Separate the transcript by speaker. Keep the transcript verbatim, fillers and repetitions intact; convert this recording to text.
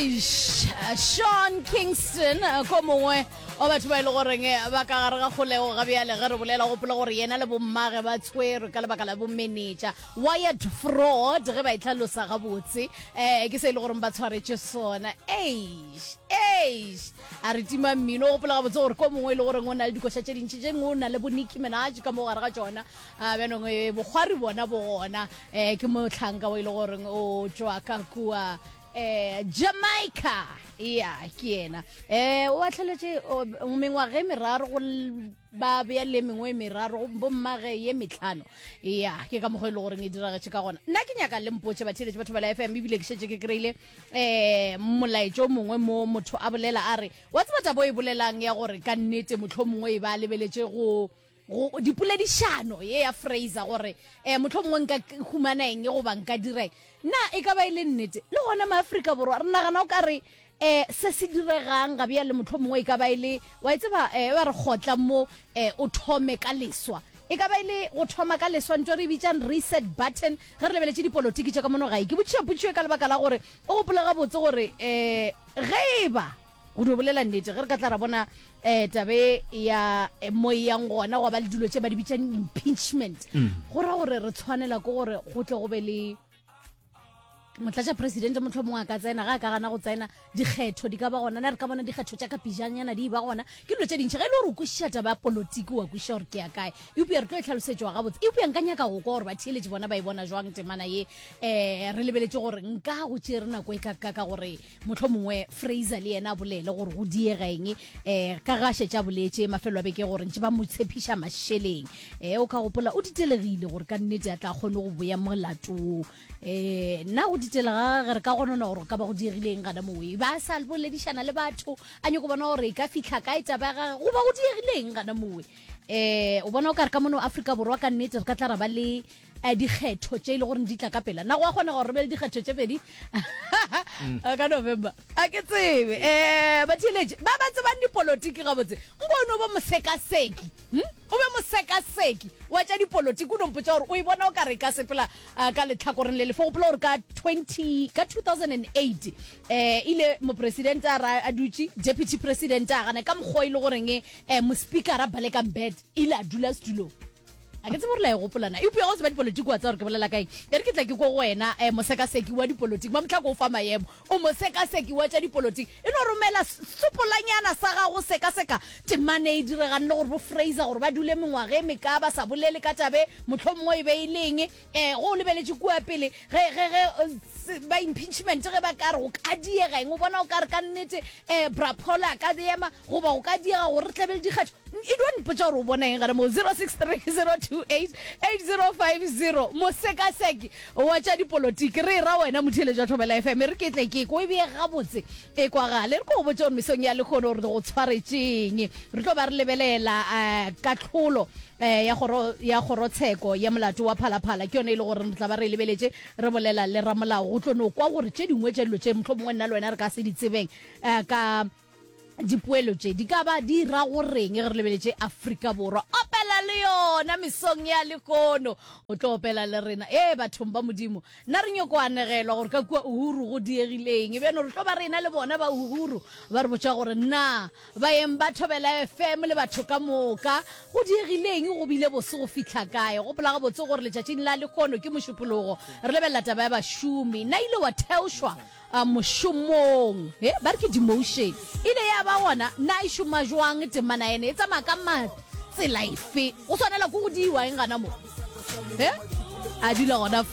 Speaker 1: Eish, Sean Kingston ko mongwe wa batho ba e le goreng ba ka gare ga kgolego ga bjale ge re bolela gopola gore yena le bommage ba tshwerwe ka lebaka la bomenetša wired fraud ge ba e tlhalosa gabotse um ke se e le goreng ba tshwaretše sona eish eish a re tima mmino o gopola gabotse gore ko mongwe e le goreng o na le dikoša tše dintši tše dingwe o na le bo Nicki Minaj ka mo gare ga tšona a bjanong eh, bokgwari bona bo gona um ke mohlanka o e le goreng o tšwa ka kua eh Jamaica ya ke yena eh o atlheletše mengwaga e meraro go ba bea le mengwe e meraro bommage ye metlhano ya ke ka mokgwa e le goreng e diragetše ka gona nna ke nyaka le mpotše batheeletše batho ba la fm ebile ke šetše ke kry-ile um molaetšo o mongwe mo motho a bolela a re wa tseba tabo e bolelang ya gore ka nnete motlho mongwe e ba lebeletše go go dipoledišano ye ya Fraser gore um motlho mongwe nka humana eng goba nka dira eng na e ka ba e le nnete le gona maafrika borwa re nagana o ka re um se se diregang ga bjale motlho mongwe e ka ba e le wa e tseba um ba re kgotla mo um o thome ka leswa e ka ba e le go thoma ka leswa ntho re e bitsang reset button ge re lebeletše dipolotiki tša ka mono gae ke botšiša potšišo ka lebaka la gore o gopola gabotse gore um ge e ba go dio bolela nnete ge re ka tla ra bona um tabe ya mo e yang gona go ba le dilo tše ba di bitsang impeachment go ra gore re tshwanela ke gore go tle go be le motlatša presidente motlho mongwe a ka tsena ga a ka gana go tsena dikgetho di ka ba gona na re ka bona dikgetho tša ka pejanyana di ba gona ke dilo tše dintšhi ge e le gore o kwešiša taba ya polotiki wa kwešiša gore ke ya kae eupša re tlo e tlhalosetšwa gabotse eupša nka nyaka go kwa gore batheeletše bona ba e bona jwang temana ye um re lebeletše gore nka go tšere nako e ka ka ka gore motlho mongwe Fraser le yena a bolele gore go diega eng um ka ga šetše a boletše mafelo a beke gore ntše ba mo tshepiša mašeleng um o ka gopola o ditelegile gore ka nnete a tla kgone go boya molato wo um nna go ditelega ge re ka gonona gore ka ba go diegileng gana mowe ba sa boledišana le batho a nyako bona gore e ka fitlha kae taba ya gage goba go diegileng gana mowe um o bona o ka re ka mono Afrika Borwa ka nnete re ka tla ra ba le eh, dikgetho tše e le gore di tla ka pela na go a kgona gore re be le dikgetho tše pedi ka November a ke tsebe um batheeletše ba ba tsebang dipolotiki gabotse nko o no bo mosekaseki hm? o be mosekaseki wa tša dipolotiki o no mpotša gore o e bona o ka re ka sepela uh, ka letlhakoreng le lefe gopola gore ka twenty ka two thousand and eight um ile mopresidente a ra a dutše deputy president a gana ka mokgwa e le goreng um mospeakera Baleka Mbete ile a dula setulong a ke tsebe gore la e gopolana eupša go tseba dipolotiki wa tseba gore ke bolela kaeng e re ke tla ke ko go wena um mosekaseki wa dipolotiki mamotlhako o fa maemo o mosekaseki wa tša dipolotiki e no romela sopolanyana sa gago sekaseka temane e diregang le gore bo Fraser gore ba dule mengwaga e meka ba sa bolele ka tabe motlho mongwe e be e leng um go o lebeletše kua pele ge ge ge ba impeachment ge ba ka re go ka diega eng o bona o ka re ka nnete um brapola a ka ema goba go ka diega gore re tlebe le dikgetho e dio mpotša gore o bona eng gare mo zero six three zero two eight eight zero five zero mosekaseki wa tša dipolotiki re ra wena motheeletši wa Thobela FM re ke tle ke ko e beye gabotse e kwagale re ko go botša gore mesong ya lekgono gore go tshwaretšeng re tlo ba re lebelela um katlholo um ya kgoro ya kgorotsheko ya molato wa phalaphala ke yone e le gore re tla ba re e lebeletše re bolela le ramolao go tlo no kwa gore tše dingwe tša dilo tše motlho mongwe nna le wena re ka se di tsebeng um ka dipoelo tše di ka ba di ra goreng ge re lebeletše Afrika Borwa opela le yona mesong ya lekono o tlo opela le rena ee bathong ba modimo nna re nyoko anegelwa gore ka kua Uhuru go diegileng bjano re tlo ba rena le bona ba Uhuru ba re botša gore na baeng ba Thobela FM le batho ka moka go diegileng go bile bose go fihla kae gopola gabotse gore letšatšing la lekono ke mošupologo re lebelela taba ya bašomi na ile wa theošwa uh, mošomong he ba re ke demotion ile ya ba gona na e šoma jwang temana ene e tsamaya ka matsela efe go swanela ko go diiwa eng gana mo he a dula gona